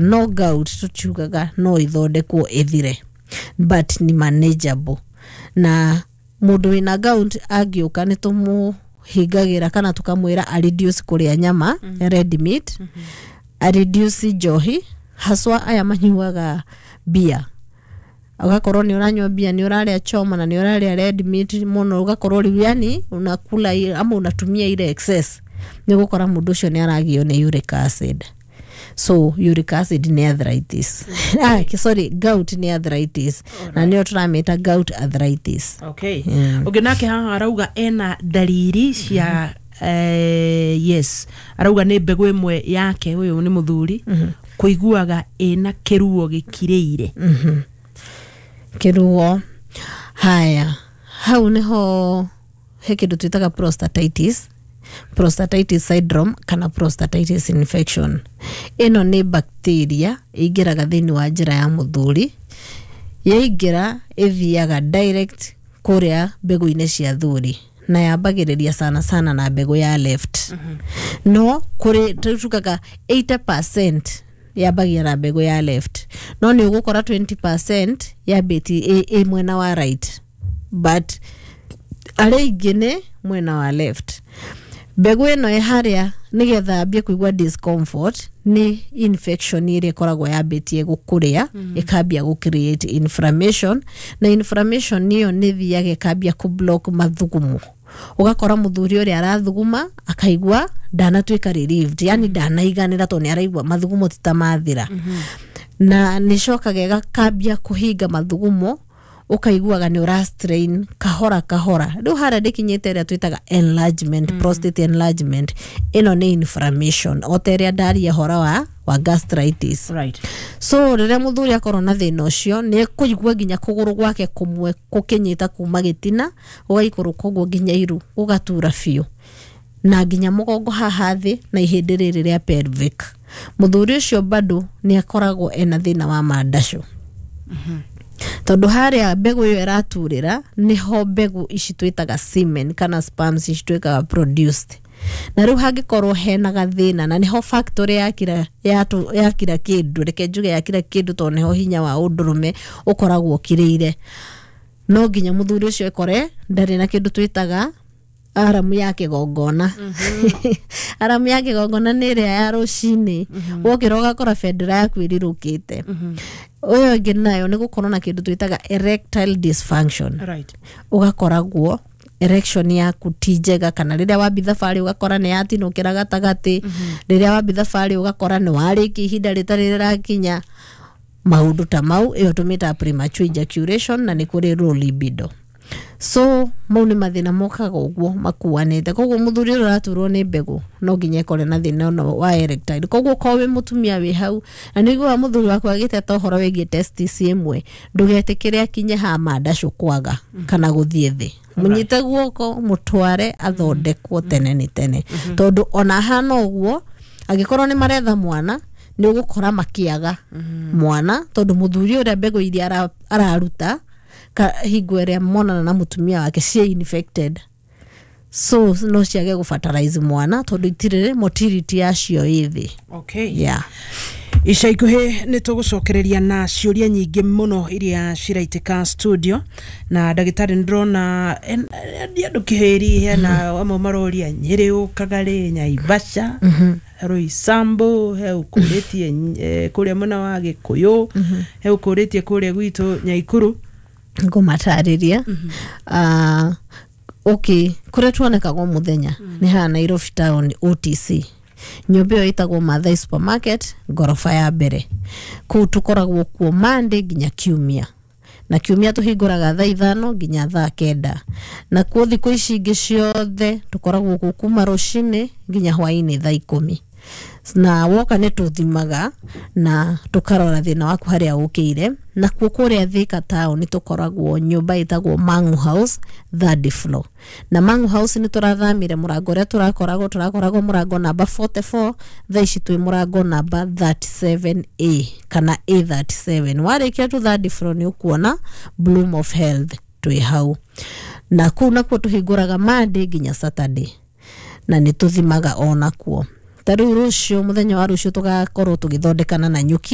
No gout tũtiugaga no ĩthondekwo ĩthire, but nĩ manageable. Na mũndũ wĩna gout angĩũka, nĩ tũmũhingagĩra kana tũkamwĩra a reduce kũrĩa nyama, red meat, a reduce njohi, haswa aya manyuaga bia. Ũgakorwo nĩ ũranyua bia, nĩ ũrarĩa choma na nĩ ũrarĩa red meat mũno, ũgakorwo rĩu yani unakula ama unatumia ile excess, nĩ ũgũkora mũndũ ũcio nĩ aragio nĩ uric acid. So uric acid nĩ arthritis, sorry, gout nĩ arthritis, na nĩyo tũramĩta gout arthritis. Ũngĩ nake haha arauga ena ndariri cia yes, arauga nĩ mbegũ ĩmwe yake, ũyũ nĩ mũthuri, kũiguaga ĩna kĩruo gĩkirĩire. Kĩruo haya, hau nĩho he kĩndũ twĩtaga prostatitis, prostatitis syndrome kana prostatitis infection. Ĩno nĩ bacteria ĩingĩraga thĩinĩ wa njĩra ya mũthuri. Yaingĩra, ĩthiaga direct kũrĩa mbegũ-inĩ cia thuri, na yambagĩrĩria sana sana na mbegũ ya left. No kũrĩ tugaga 80% yambagia na mbegũ ya left, no nĩ ũgũkora 20% yambĩtie ĩ mwena wa right, but arĩa aingĩ nĩ mwena wa left. Mbegũ ĩno ĩ harĩa nĩgetha ambie kũigua discomfort nĩ infection ĩrĩa ĩkoragwo yambĩtie gũkũrĩa, ĩkambia gũ create inflammation, na inflammation ĩyo nĩ ĩthiaga ĩkambia kũ block mathugumo. Ũgakora mũthuri ũrĩa arathuguma akaigua ndanatuĩka relieved, yani ndanaiganĩra, tondũ nĩ araigua mathugumo ti ta mathira. Na nĩcokaga ĩgakambia kũhinga mathugumo, ũkaiguaga nĩ ũra strain kahora kahora. Rĩu harĩa ndĩkinyĩte ĩrĩa twĩtaga enlargement, prostate enlargement. Ĩno nĩ inflammation o ta ĩrĩa ndaria hora wa gastritis. So rĩrĩa mũthuri akorwo na thĩna ũcio, nĩ ekũigua nginya kũgũrũ gwake kũmwe gũkĩnyita kuma gĩtina gũgaikũrũka ũguo nginya iru, gũgatura biũ, na nginya mũgongo haha thĩ na ihĩndĩ rĩrĩ rĩa pelvic. Mũthuri ũcio bado nĩ akoragwo ena thĩna wa mandacũ, tondũ harĩa mbegũ ĩyo ĩraturĩra nĩho mbegũ ici twĩtaga semen kana sperms ici twĩkaga produced. Na rĩu hangĩkorwo hena gathĩna, na nĩho factory ya kira ya kira kĩndũ, reke njuge ya kira kĩndũ, tondũ nĩho hinya wa ũndũrũme ũkoragwo ũkirĩire, no nginya mũthuri ũcio ekore ndarĩ na kĩndũ twĩtaga aramu ya kĩgongona. Aramu ya kĩgongona nĩ ĩrĩa ya rũcinĩ wokĩra ũgakora bendera yaku ĩrirũkĩte. Ũyũ ũngĩ nayo nĩ gũkorwo na kĩndũ twĩtaga erectile dysfunction. Ũgakoragwo erection yaku ti njega, kana rĩrĩa wambi thabarĩ ũgakora nĩ yatinũkĩra gatagatĩ, rĩrĩa wambi thabarĩ ũgakora nĩ warĩkia ihinda rĩtarĩ rĩrakinya, maũndũ ta mau. Ĩyo tũmĩtaga premature ejaculation, na nĩ kũrĩ low libido. So mau nĩ mathĩna mokaga ũguo makuanĩte. Koguo mũthuri ũrĩa ũraturwo nĩ mbegũ no nginya ekore na thĩna ũno wa erectile. Koguo korwo wĩ mũtumia wĩ hau na nĩ ũiguaga mũthuri waku agĩteta ũhoro wĩgiĩ testis ĩmwe, ndũgetĩkĩre akinye ha mandacũ kwaga kana gũthiĩ thĩ. Mũnyite guoko, mũtware athondekwo tene nĩ tene, tondũ ona hana ũguo, angĩkorwo nĩ maretha mwana, nĩ ũgũkora makĩaga mwana, tondũ mũthuri ũrĩa mbegũ iria araruta hingo ĩrĩa monana na mũtumia wake ciĩ infected, so no ciage gũfertilize mwana tondũ itirĩ motility yacio ĩ thĩ. Ica ikuhĩ nĩ tũgũcokereria na ciũria nyingĩ mũno iria ciraitĩka studio na ndagĩtarĩ. Nĩ ndĩrona andũ kĩhĩri, hena amwe maroria Nyĩrĩ ũkaga rĩ, Nyaivasha, Roysambu, he ũkũrĩtie kũrĩa mwena wa Gĩkũyũ, he ũkũrĩtie kũrĩa gwitũ Nyaikuru. Ngũmatarĩria. Okay, kũrĩa tuonekaga mũthenya nĩ haha Nairobi town, OTC, nyũmba ĩyo ĩtagwo Mathai Supermarket, ngoroba ya mbere. Kũu tũkoragwo kuo Monday nginya Kiumia, na Kiumia tũhingũraga thaa 5 nginya thaa 9. Na kuo thikũ ici ingĩ ciothe tũkoragwo kuo kuma rũcinĩ nginya hwainĩ thaa 10. Na woka nĩ tũthimaga na tũkarora thĩna waku harĩa ũkĩire. Na kuo kũrĩa Thika town tũkoragwo nyũmba ĩtagwo Mangu House, third floor. Na Mangu House nĩ tũrathamire mũrango ũrĩa tũrakoragwo mũrango namba 44, thaa ici twĩ mũrango namba 37A kana A37. Warĩkia tu third floor, nĩ ũkuona Bloom of Health twĩ hau. Na kũu nakuo tũhingũraga Monday nginya Saturday, na nĩ tũthimaga onakuo. Ta rĩu rũciũ, mũthenya wa rũciũ, tũgakorwo tũgĩthondekana na nyuki.